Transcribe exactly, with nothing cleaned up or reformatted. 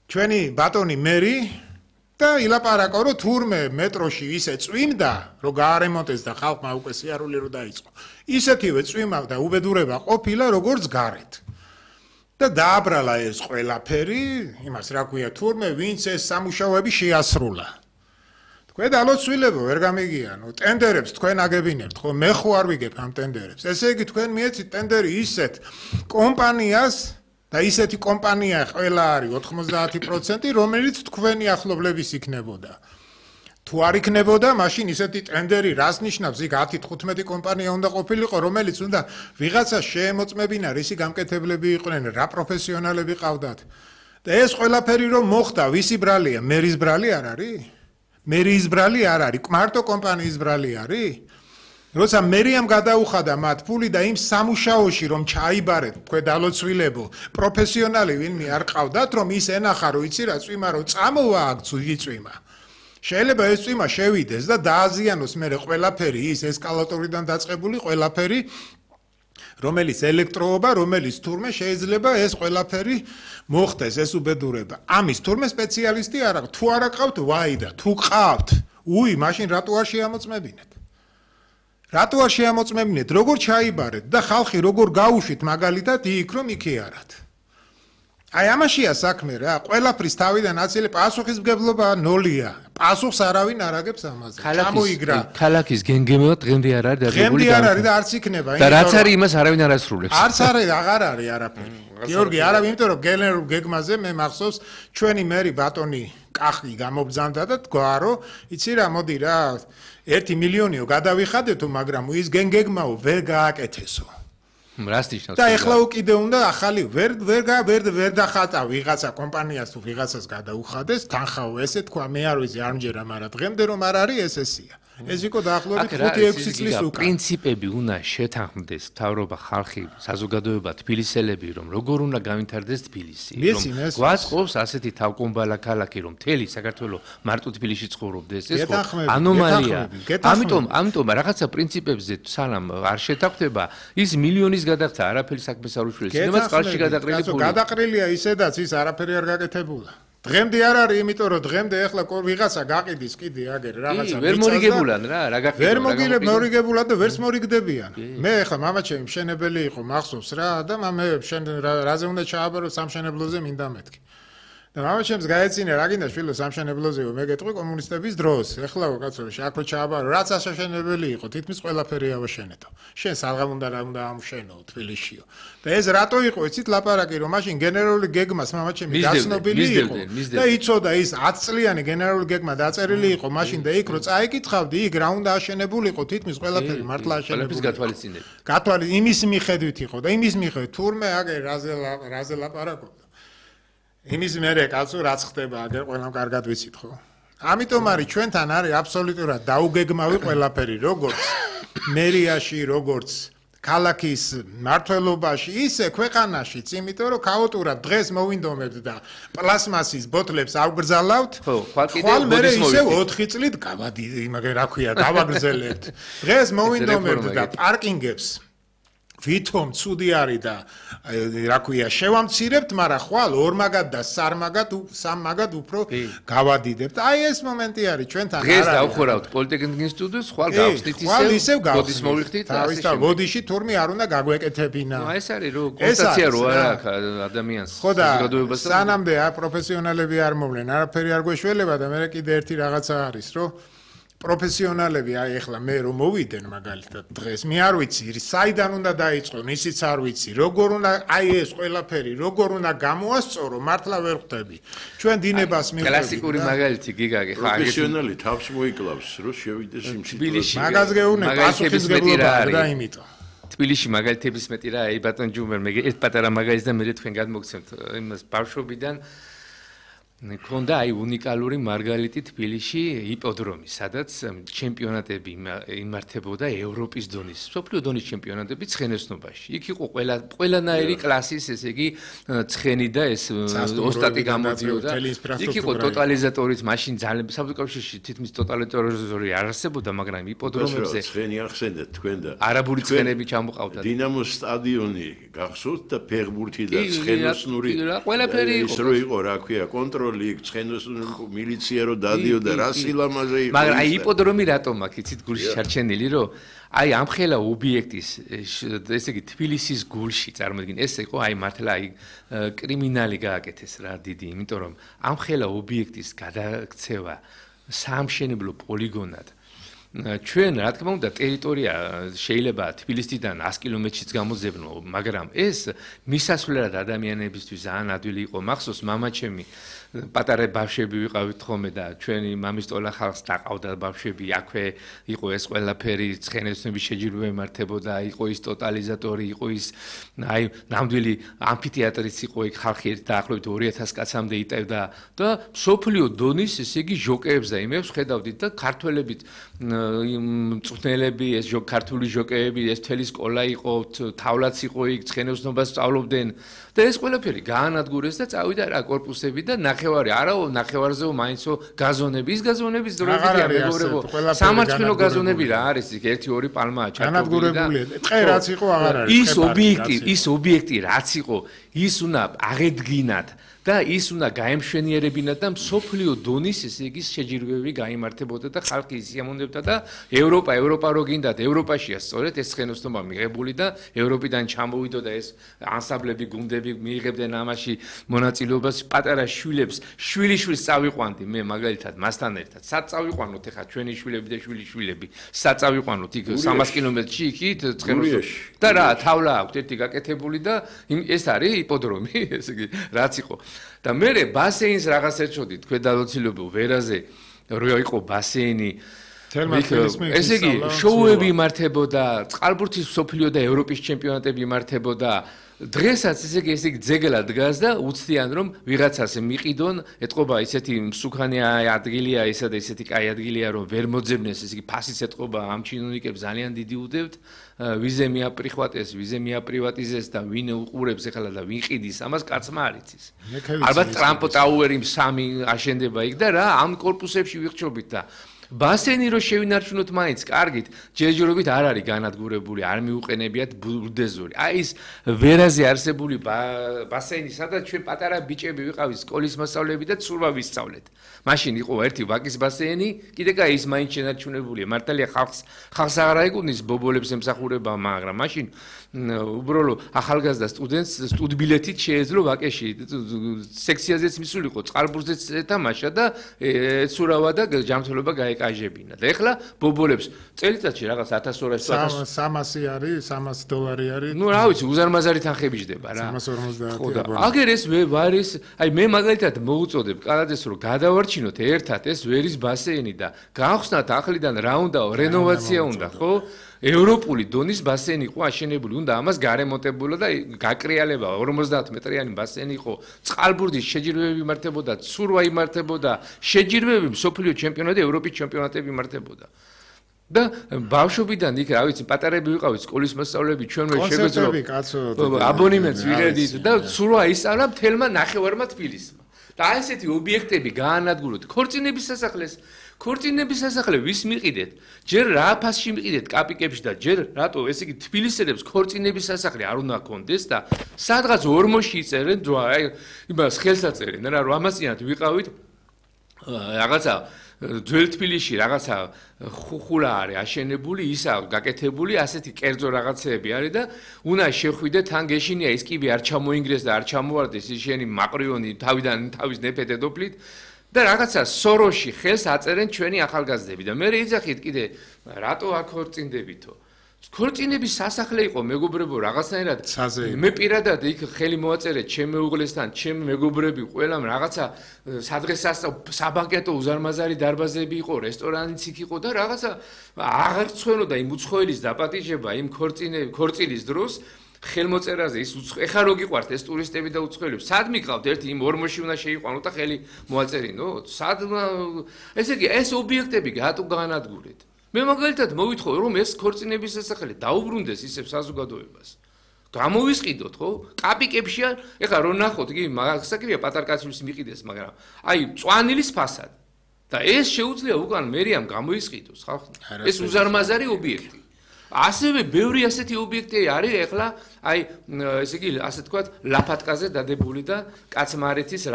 ჩვენი ბატონი მერი და ილაპარაკო რომ თურმე მეტროში ისე წვიმდა რომ გაარემონტეს და ხალხმა უკვე სიარული რო დაიწყო ისეთივე წვიმა და უბედურება ყოფილა როგორც გარეთ და დააბრალა ეს ყველაფერი იმას რა ქვია თურმე ვინც ეს სამუშაოები შეასრულა თქვენ ალოცვილებო ვერ გამიგიანო ტენდერებს თქვენ აგებინებთ ხო მე ხო არ ვიგებ ამ ტენდერებს ესე იგი თქვენ მიეცით ტენდერი ისეთ კომპანიას და ისეთი კომპანია ყველა არის ოთხმოცდაათი პროცენტი რომელიც თქვენი ახლობლების იქნებოდა თუ არ იქნებოდა მაშინ ისეთი ტენდერი რას ნიშნავს იქ ათი თხუთმეტი კომპანია უნდა ყოფილიყო რომელიც უნდა ვიღაცა შეემოწმებინა რისი გამკეთებლები იყვნენ რა პროფესიონალები ყავდათ და ეს ყველაფერი რომ მოხდა ვისი ბრალია მერის ბრალი არ არის მერის ბრალი არ არის მარტო კომპანიის ბრალი არის როცა მერიამ გადაუხადა მათ ფული და იმ სამუშაოში რომ ჩაიბარეთ თქვენ დალოცვილებო პროფესიონალი ვინმე არ ყავდათ რომ ის ენახა რომ იცი რა წვიმა რომ წამოვა აქ წვიმა შეიძლება ეს წვიმა შევიდეს და დააზიანოს მე ყველაფერი ის ესკალატორიდან დაწყებული ყველაფერი რომელიც ელექტროობა რომელიც თურმე შეიძლება ეს ყველაფერი მოხდეს ეს უბედურება ამის თურმე სპეციალისტი არ აქვს თუ არ აყავთ ვაიდა თუ ყავთ უი მაშინ რატო არ შეამოწმებინეთ რატო არ შეამოწმებინეთ როგორ ჩაიბარეთ და ხალხი როგორ გაუშვით მაგალითად იქ რომ იქიარათ აი ამაშია საქმე რა ყველაფრის თავიდან აცილე პასუხისმგებლობა ნოლია პასუხს არავინ არ აგებს ამაზე ჩამოიგრა ქალაქის გენგემეო დღემდე არ არის დაგებული დღემდე არ არის და არც იქნება და რაც არის იმას არავინ არ ასრულებს არც არის აღარ არის არაფერი გიორგი არავინ იმიტომ რომ გენერალურ გეგმაზე მე მახსოვს ჩვენი მერი ბატონი კახი გამობძანდა და თქვა რომ იცი რა მოდი რა ერთი მილიონიო გადავიხადეთო მაგრამ ის გენგეგმაო ვერ გააკეთესო რას ნიშნავს და ეხლა უკიდე უნდა ახალი ვერ ვერ ვერ ვერ დახატა ვიღაცა კომპანიას თუ ვიღაცას გადაუხადეს თანხაო ესე თქვა მე არ ვიცი არ მჯერა მაგრამ დღემდე რომ არ არის ეს ესია ეს იყო დაახლოებით ხუთი ექვსი წლის უკან პრინციპები უნდა შეთანხმდეს მთავრობა ხალხი საზოგადოება თბილისელები რომ როგორ უნდა გავითარდეს თბილისი რომ გვაწყობს ასეთი თავკომბალა ქალაქი რომ მთელი საქართველოს მარტო თბილისში ცხოვრობდეს ეს ხო ანომალია ამიტომ ამიტომ რაღაცა პრინციპებზე სანამ არ შეთანხმდება ის მილიონის გადახდა არაფერი საქმეს არ უშვილებს იმას წყალში გადაყრილი ფული გადაყრილია ისედაც ის არაფერი არ გაკეთებულა დღემდე არ არის იმიტომ რომ დღემდე ახლა ვიღაცა გაყიდის კიდე აგერ რაღაცა ვერ მორიგებულან რა რა გახდება ვერ მოგილებ მორიგებულად და ვერც მორიგდებიან მე ახლა მამაჩემი მშენებელი იყო მახსოვს რა და მე შენ რაზე უნდა ჩააბარო სამშენებლოზე მინდა მეთქი და მამაჩემს გაეცინა რა გინდა შვილო სამშენებლოზეო მე გეტყვი კომუნისტების დროს ეხლა კაცო შეაქვე ჩააბარო რაც ასაშენებელი იყო თითქმის ყველაფერი ავაშენეთო შენ საღამ უნდა რა უნდა ამშენო თბილისშიო და ეს რატო იყო იცით ლაპარაკი რომ მაშინ გენერალური გეგმას მამაჩემი გაცნობილი იყო და იცოდა ის ათი წლიანი გენერალური გეგმა დაწერილი იყო მაშინ და იქ რო წაიკითხავდი იქ რა უნდა აშენებულიყო თითქმის ყველაფერი მართლა აშენებული გათვალისწინებ გათვალი იმის მიხედვით იყო და იმის მიხედვით თურმე აგერ რაზე რაზე ლაპარაკობდა იმის მერე კაცო რაც ხდება აგერ ყველამ კარგად ვიცით ხო ამიტომ არის ჩვენთან არის აბსოლუტურად დაუგეგმავი ყველაფერი როგორც მერიაში როგორც ქალაქის მართლობაში ისე ქვეყანაშიც იმიტომ რომ ქაოტურად დღეს მოვინდომებთ და პლასმასის ბოთლებს ავგრძალავთ ხვალ მერე ისე ოთხი წლით გავადი იმაგე რა ქვია გავაგრძელებთ დღეს მოვინდომებთ და პარკინგებს ვითომ ცუდი არის და რა ქვია შევამცირებთ, მაგრამ ხვალ ორმაგად და სარმაგად, სამმაგად უფრო გავადიდებთ. აი ეს მომენტი არის ჩვენთან. დღეს დავხურავთ პოლიტექნიკის ინსტიტუტს, ხვალ გავხსნით ისევ, ბოდის მოიხდით, თავის და ბოდიში თურმე არ უნდა გაგვეკეთებინა. ნუ ეს არის რო კონსტატაცია რო არა ადამიანს საზოგადოებას. სანამდე პროფესიონალები არ მოვლენ, არაფერი არ გვეშველება და მე კიდე ერთი რაღაცა არის, რომ პროფესიონალები აი ახლა მე რომ მოვიდენ მაგალითად დღეს მე არ ვიცი საიდან უნდა დაიწყონ ისიც არ ვიცი როგორ უნდა აი ეს ყველაფერი როგორ უნდა გამოასწორო მართლა ვერ ხვდები ჩვენ დინებას მივხვდები კლასიკური მაგალითი გიგაგე ხო პროფესიონალი თავს მოიკლავს რომ შევიდეს იმ სიტუაციაში მაგას გეუნე პასუხისმგებლობა და იმიტომ თბილისში მაგალითების მეტი რა აი ბატონ ჯუმერ მე ერთ პატარა მაგალითს და მე თქვენ გადმოგცემთ იმას ბავშვობიდან ქონდა აი უნიკალური მარგალიტი თბილისში იპოდრომი, სადაც ჩემპიონატები იმართებოდა ევროპის დონის, სოფლიო დონის ჩემპიონატები ცხენოსნობაში. იქ იყო ყველა ყველანაირი კლასის, ესე იგი, ცხენი და ეს ოსტატი გამოდიოდა. იქ იყო ტოტალიზატორიც, მაშინ ძალიან საბჭოებში თითქმის ტოტალიზატორი არ არსებობდა, მაგრამ იპოდრომებზე ცხენი ახსენეთ თქვენ და არაბული ცხენები ჩამოყავდათ. დინამოს სტადიონი გახსოვთ და ფეხბურთი და ცხენოსნური ყველაფერი იყო. ის რო იყო, რა ქვია, კონტროლი ცხენოს მილიცია რო დადიოდა რა სილამაზე იყო. მაგრამ აი იპოდრომი რატომ აქ იცით გულში ჩარჩენილი რომ აი ამ ხელა ობიექტის ესე იგი თბილისის გულში წარმოიდგინე ეს იყო აი მართლა აი კრიმინალი გააკეთეს რა დიდი იმიტომ რომ ამ ხელა ობიექტის გადაქცევა საამშენებლო პოლიგონად ჩვენ რა თქმა უნდა ტერიტორია შეიძლება თბილისიდან ას კილომეტრშიც გამოძებნო მაგრამ ეს მისასვლელად ადამიანებისთვის ძალიან ადვილი იყო მახსოვს მამაჩემი პატარა ბავშვები ვიყავით ხოლმე და ჩვენი მამისტოლა ხალხს დაყავდა ბავშვები აქვე იყო ეს ყველაფერი ცხენოსნების შეჯიბრება იმართებოდა იყო ის ტოტალიზატორი იყო ის აი ნამდვილი ამფითეატრიც იყო იქ ხალხი დაახლოებით ორი ათას კაცამდე იტევდა და სოფლიო დონის ესე იგი ჟოკეებს და იმებს ხედავდით და ქართველებით მწვრთნელები ეს ქართული ჟოკეები ეს მთელი სკოლა იყო თავლაც იყო იქ ცხენოსნობას სწავლობდნენ და ეს ყველაფერი გაანადგურეს და წავიდა რა კორპუსები და ნახევარი არაო ნახევარზეო მაინცო გაზონები ის გაზონების დროებია მეგობრებო სამარცხინო გაზონები რა არის იქ ერთი ორი პალმაა ჩაკობილი ტყე რაც იყო აღარ არის ის ობიექტი ის ობიექტი რაც იყო ის უნდა აღედგინათ და ის უნდა გაემშვენიერებინათ და სოფლიო დონის ესე იგი შეჯიბრებები გაიმართებოდა და ხალხი ისიამოვნებდა და ევროპა ევროპა რო გინდათ ევროპაშია სწორედ ეს ცხენოსნობა მიღებული და ევროპიდან ჩამოვიდოდა ეს ანსამბლები გუნდები მიიღებდნენ ამაში მონაწილეობას პატარა შვილებს შვილიშვილს წავიყვანდი მე მაგალითად მასთან ერთად სად წავიყვანოთ ეხა ჩვენი შვილები და შვილიშვილები სად წავიყვანოთ იქ სამას კილომეტრში იქით ცხენოსნობაში და რა თავლა აქვს ერთი გაკეთებული და ეს არის იპოდრომი ესე იგი რაც იყო და მე ბასეინს რაღაც ერჩოდი თქვენ დალოცილობო ვერაზე რო იყო ბასეინი ესე იგი შოუები იმართებოდა წყალბურთის სოფლიო და ევროპის ჩემპიონატები იმართებოდა დღესაც ესე იგი ესე იგი ძეგლად დგას და უცდიან რომ ვიღაცას მიყიდონ ეთყობა ისეთი მსუქანი ადგილია ესა და ისეთი კაი ადგილია რომ ვერ მოძებნეს ესე იგი ფასიც ეთყობა ამ ჩინოვნიკებს ძალიან დიდი უდევთ ვიზე მიაპრიხვატეს ვიზე მიაპრივატიზეს და ვინ უყურებს ეხლა და ვინ ყიდის ამას კაცმა არ იცის ალბათ ტრამპ ტაუერი სამი აშენდება იქ და რა ამ კორპუსებში ვიხჩობით და ბასენი რო შევინარჩუნოთ მაინც კარგით ჯერჯერობით არ არის განადგურებული არ მიუყენებიათ ბულდეზორი აი ის ვერაზე არსებული ბასენი სადაც ჩვენ პატარა ბიჭები ვიყავით სკოლის მასწავლებლები და ცურვა ვისწავლეთ მაშინ იყო ერთი ვაკის ბასენი კიდე კაი ის მაინც შენარჩუნებულია მართალია ხალხს ხალხს აღარ აიგუნის ბობოლებს ემსახურება მაგრამ მაშინ უბრალო ახალგაზრდა სტუდენტს სტუდბილეთით შეეძლო ვაკეში სექციაზეც მისულიყო წყალბურთზეც ეთამაშა და ეცურავა და ჯანმრთელობა გაეკაჟებინა და ეხლა ბობოლებს წელიწადში რაღაც ათას ორასი სამასი არის სამასი დოლარი არის ნუ რა ვიცი უზარმაზარი თანხები ჯდება რა სამას ორმოცდაათი აგერ ეს ვარის აი მე მაგალითად მოუწოდებ კალაძეს რომ გადავარჩინოთ ერთად ეს ვერის ბასეინი და გავხსნათ ახლიდან რა უნდაო რენოვაცია უნდა ხო ევროპული დონის ბასენი იყო აშენებული, უნდა ამას გარემონტებულა და გაკრიალება ორმოცდაათ მეტრიანი ბასენი იყო, წყალბურთის შეჯიბრებები იმართებოდა, ცურვა იმართებოდა, შეჯიბრებები სოფლიო ჩემპიონატი, ევროპის ჩემპიონატები იმართებოდა. და ბავშვობიდან იქ რა ვიცი პატარები ვიყავით სკოლის მასწავლებლები ჩვენ ვერ შეგვეძლო აბონემენტს ვიღებდით და ცურვა ისწავლა მთელმა ნახევარმა თბილისმა. და აი ესეთი ობიექტები გაანადგუროთ ქორწინების სასახლეს ქორწინების სასახლე ვის მიყიდეთ? ჯერ რა ფასში მიყიდეთ კაპიკებში და ჯერ რატო ესე იგი თბილისელებს ქორწინების სასახლე არ უნდა კონდეს და სადღაც ორმოში იწერენ დრო აი იმას ხელს აწერენ რა რომ ამასიანად ვიყავით რაღაცა ძველ თბილისში რაღაცა ხუხულა არის აშენებული ისა გაკეთებული ასეთი კერძო რაღაცეები არის და უნდა შეხვიდე თან გეშინია ის კიბე არ ჩამოინგრეს და არ ჩამოვარდეს ის შენი მაყრიონი თავიდან თავის ნეფედედოფლით და რაღაცა სოროში ხელს აწერენ ჩვენი ახალგაზრდები და მე ეძახით კიდე რატო აქ ხორწინდებითო ქორწინების სასახლე იყო მეგობრებო რაღაცნაირად მე პირადად იქ ხელი მოაწერე ჩემ მეუღლესთან ჩემ მეგობრები ყველამ რაღაცა სადღესასწაულო საბანკეტო უზარმაზარი დარბაზები იყო რესტორანიც იქ იყო და რაღაცა აღარ ცვენოდა იმ უცხოელის დაპატიჟება იმ ქორწინების ქორწილის დროს ხელმოწერაზე ის უცხო ეხა რო გიყვართ ეს ტურისტები და უცხოელები სად მიყავთ ერთი იმ ორმოში უნდა შეიყვანოთ და ხელი მოაწერინოთ სად ესე იგი ეს ობიექტები გატო განადგურეთ მე მაგალითად მოვითხოვე რომ ეს ქორწინების სასახლე დაუბრუნდეს ისევ საზოგადოებას გამოვისყიდოთ ხო კაპიკებშია ეხა რო ნახოთ იგი მაგასაკირია პატარკაცის მიყიდეს მაგრამ აი წვანილის ფასად და ეს შეუძლია უკან მერიამ გამოისყიდოს ხალხი ეს უზარმაზარი ობიექტი ასევე ბევრი ასეთი ობიექტი არის ეხლა აი ესე იგი ასე თქვათ ლაფატკაზე დადებული და კაცმარეთის